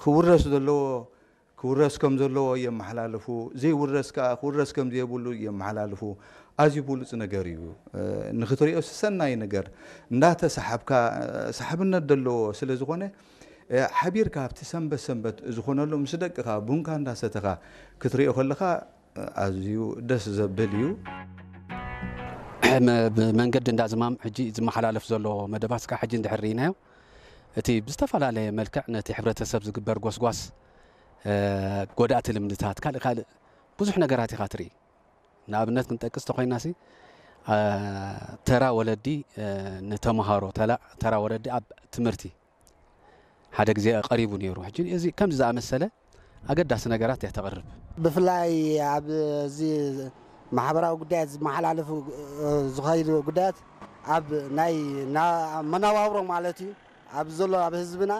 ክውረስ ዘለዎ ክውረስ ከም ዘለዎ የመሓላልፉ፣ ዘይውረስ ከኣ ክውረስ ከም ዘየብሉ የመሓላልፉ። ኣዝዩ ብሉጽ ነገር እዩ። ንኽትሪኦ ሰናይ ነገር እንዳተሰሓብካ ሰሓብነት ዘለዎ ስለ ዝኾነ ሓቢርካ ኣብቲ ሰንበት ሰንበት ዝኾነሉ ምስ ደቅኻ ቡንካ እንዳሰተኻ ክትሪኦ ከለኻ ኣዝዩ ደስ ዘብል እዩ። ብመንገዲ እንዳዝማም ሕጂ ዝመሓላለፍ ዘሎ መደባት እስካ ሕጂ እንድሕር ርኢናዮ፣ እቲ ብዝተፈላለየ መልክዕ ነቲ ሕብረተሰብ ዝግበር ጎስጓስ፣ ጎዳእቲ ልምድታት፣ ካልእ ካልእ ብዙሕ ነገራት ኢኻ ትርኢ። ንኣብነት ክንጠቅስ ተኾይናሲ፣ ተራ ወለዲ ንተምሃሮ፣ ተራ ወለዲ ኣብ ትምህርቲ ሓደ ግዜ ቀሪቡ ነይሩ። ሕጂ እዚ ከምዚ ዝኣመሰለ ኣገዳሲ ነገራት እያ ተቕርብ። ብፍላይ ኣብ እዚ ማሕበራዊ ጉዳያት ዝመሓላለፉ ዝኸይዱ ጉዳያት ኣብ ናይ መነባብሮ ማለት እዩ ኣብ ዘሎ ኣብ ህዝብና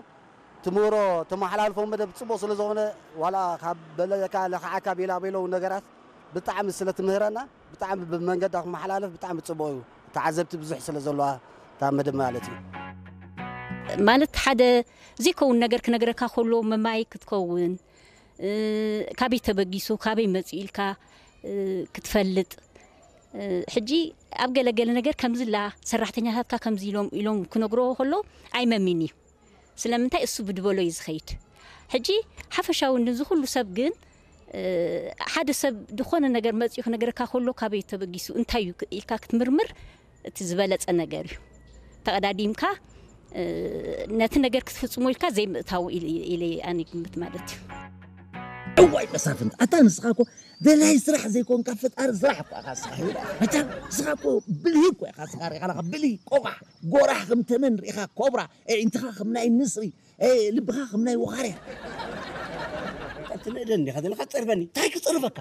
ትምህሮ ተመሓላልፎ መደብ ፅቡቕ ስለ ዝኾነ ዋላ ካብ በለካ ለኽዓካ ቤላ ቤለው ነገራት ብጣዕሚ ስለ ትምህረና ብጣዕሚ ብመንገዳ ክመሓላለፍ ብጣዕሚ ፅቡቕ እዩ። ተዓዘብቲ ብዙሕ ስለ ዘለዋ እታ መደብ ማለት እዩ። ማለት ሓደ ዘይከውን ነገር ክነግረካ ከሎ መማይ ክትከውን ካበይ ተበጊሱ ካበይ መፂኡ ኢልካ ክትፈልጥ ሕጂ ኣብ ገለገለ ነገር ከምዚ ላ ሰራሕተኛታትካ ከምዚ ኢሎም ኢሎም ክነግርዎ ከሎ ኣይመሚን እዩ። ስለምንታይ እሱ ብድበሎ እዩ ዝኸይድ። ሕጂ ሓፈሻዊ ንዚ ኩሉ ሰብ ግን ሓደ ሰብ ዝኾነ ነገር መፂኡ ክነግረካ ከሎ ካበይ ተበጊሱ እንታይ እዩ ኢልካ ክትምርምር እቲ ዝበለፀ ነገር እዩ። ተቐዳዲምካ ነቲ ነገር ክትፍፅሞ ኢልካ ዘይምእታው ኢለ ኣነ ግምት ማለት እዩ። እዋይ መሳፍንት ኣታ ንስኻ እኮ ደላይ ስራሕ ዘይኮንካ ፈጣሪ ስራሕ እኮ ኢኻ ስራሕ ይብላ መቻም ንስኻ እኮ ብልሂ እኮ ኢኻ ስራሕ ሪኻ ብልሂ ቆቋሕ ጎራሕ ከም ተመን ሪኻ ኮብራ ኣዒንትኻ ከም ናይ ንስሪ ልብኻ ከም ናይ ወኻርያ ትንእደኒ ኢኻ ዘለኻ ትጸርፈኒ እንታይ ክጸርፈካ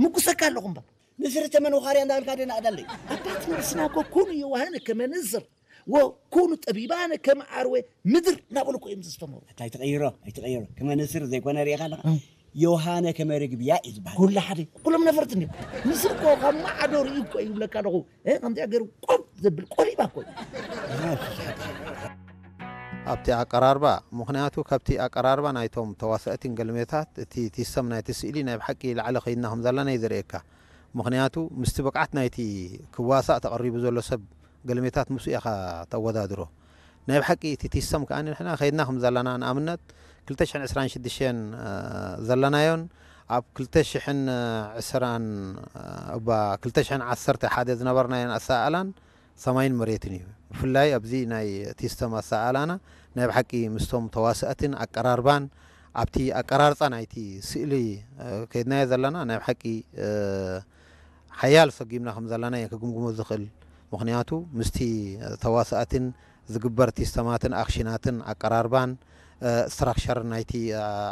ምጉሰካ ኣለኹ እምበር ንስሪ ተመን ወኻርያ እንዳበልካ ደና ኣዳለይ ኣባት ነብስና እኮ ኩሉ የዋህነ ከመ ንስር ወኩኑ ጠቢባነ ከም ዓርወ ምድር እናበሉ እኮ እዮም ዘስተምሩ። እንታይ ትቐይሮ ኣይትቐይሮ ከመ ንስር ዘይኮነ ርኢኻ ኣለኻ ዮሃነ ከመ ርግብ ያኢ ዝበሃል። ኩሉ ሓደ ኩሎም ነፈርቲ እንዲዮም። ንስር እኮ ካብ ማዕዶ ርኢ እኮ ይብለካ ኣለኹ። ከምዚኣ ገይሩ ቆብ ዘብል ቆሪባ እኮ እዩ። ኣብቲ ኣቀራርባ ምኽንያቱ ካብቲ ኣቀራርባ ናይቶም ተዋሳእቲን ገልሜታት እቲ ቲሰም ናይቲ ስእሊ ናይ ብሓቂ ላዕሊ ከይድና ከም ዘለና እዩ ዘርእየካ። ምኽንያቱ ምስቲ ብቕዓት ናይቲ ክዋሳእ ተቐሪቡ ዘሎ ሰብ ገልሜታት ምስኡ ኢኻ ተወዳድሮ። ናይ ብሓቂ እቲ ቲሰም ከኣ ንሕና ከይድና ከም ዘለና ንኣብነት ክልተ ሽሕን ዕስራን ሽዱሽተን ዘለናዮን ኣብ ክልተ ሽሕን ዕስራን እባ ክልተ ሽሕን ዓሰርተ ሓደ ዝነበርናዮን ኣሰኣእላን ሰማይን መሬትን እዩ። ብፍላይ ኣብዚ ናይ ቲስተም ኣሰኣእላና ናይ ብሓቂ ምስቶም ተዋሳእትን ኣቀራርባን ኣብቲ ኣቀራርፃ ናይቲ ስእሊ ከይድናዮ ዘለና ናይ ብሓቂ ሓያል ሰጊምና ከም ዘለና እየ ክግምግሞ ዝኽእል። ምኽንያቱ ምስቲ ተዋሳእትን ዝግበር ቲስተማትን ኣክሽናትን ኣቀራርባን ስትራክቸር ናይቲ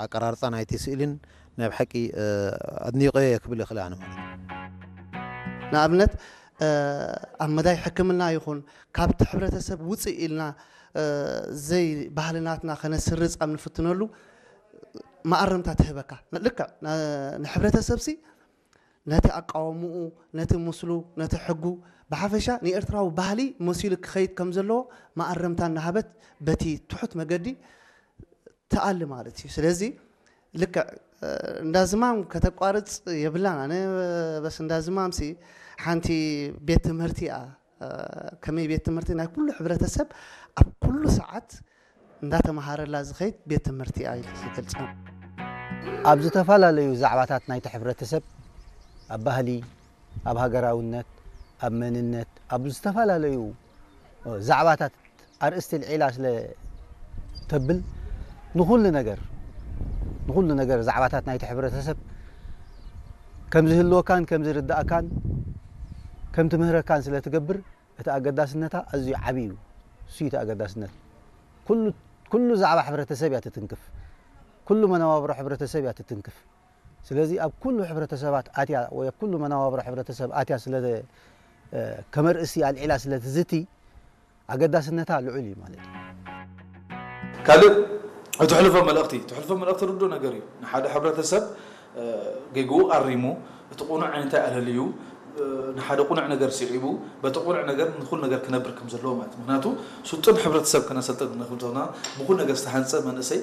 ኣቀራርፃ ናይቲ ስእልን ናይ ብሓቂ ኣድኒቆ እየ ክብል ይኽእል ኣነ ማለት እዩ። ንኣብነት ኣብ መዳይ ሕክምና ይኹን ካብቲ ሕብረተሰብ ውፅእ ኢልና ዘይ ባህልናትና ከነስርፅ ኣብ ንፍትነሉ መኣረምታ ትህበካ። ልክዕ ንሕብረተሰብሲ ነቲ ኣቃውምኡ፣ ነቲ ምስሉ፣ ነቲ ሕጉ፣ ብሓፈሻ ንኤርትራዊ ባህሊ መሲሉ ክኸይድ ከም ዘለዎ መኣረምታ እናሃበት በቲ ትሑት መገዲ ትኣሊ ማለት እዩ። ስለዚ ልክዕ እንዳ ዝማም ከተቋርጽ የብላን። ኣነ በስ እንዳ ዝማምሲ ሓንቲ ቤት ትምህርቲ እያ። ከመይ ቤት ትምህርቲ ናይ ኩሉ ሕብረተሰብ ኣብ ኩሉ ሰዓት እንዳተምሃረላ ዝኸይድ ቤት ትምህርቲ እያ ኢለ ዝገልጻ። ኣብ ዝተፈላለዩ ዛዕባታት ናይቲ ሕብረተሰብ፣ ኣብ ባህሊ፣ ኣብ ሃገራውነት፣ ኣብ መንነት፣ ኣብ ዝተፈላለዩ ዛዕባታት ኣርእስቲ ኣልዒላ ስለ ተብል ንኹሉ ነገር ንኹሉ ነገር ዛዕባታት ናይቲ ሕብረተሰብ ከም ዝህልወካን ከም ዝርድኣካን ከም ትምህረካን ስለ ትገብር እቲ ኣገዳስነታ ኣዝዩ ዓቢ እዩ። እሱ እዩ እቲ ኣገዳስነት። ኩሉ ኩሉ ዛዕባ ሕብረተሰብ እያ ትትንክፍ። ኩሉ መነባብሮ ሕብረተሰብ እያ ትትንክፍ። ስለዚ ኣብ ኩሉ ሕብረተሰባት ኣትያ ወይ ኣብ ኩሉ መነባብሮ ሕብረተሰብ ኣትያ ስለ ከመርእሲ ኣልዒላ ስለ ትዝቲ ኣገዳስነታ ልዑል እዩ ማለት እዩ። ካልእ እትሕልፎ መልእኽቲ እትሕልፎ መልእኽቲ ርዱእ ነገር እዩ። ንሓደ ሕብረተሰብ ጌግኡ ኣሪሙ እቲ ቁኑዕ እንታይ ኣለልዩ ንሓደ ቁኑዕ ነገር ስዒቡ በቲ ቁኑዕ ነገር ንኹሉ ነገር ክነብር ከም ዘለዎ ማለት ምክንያቱ ስጡም ሕብረተሰብ ከነሰልጥን ንክብተና ብኩሉ ነገር ዝተሃንፀ መንእሰይ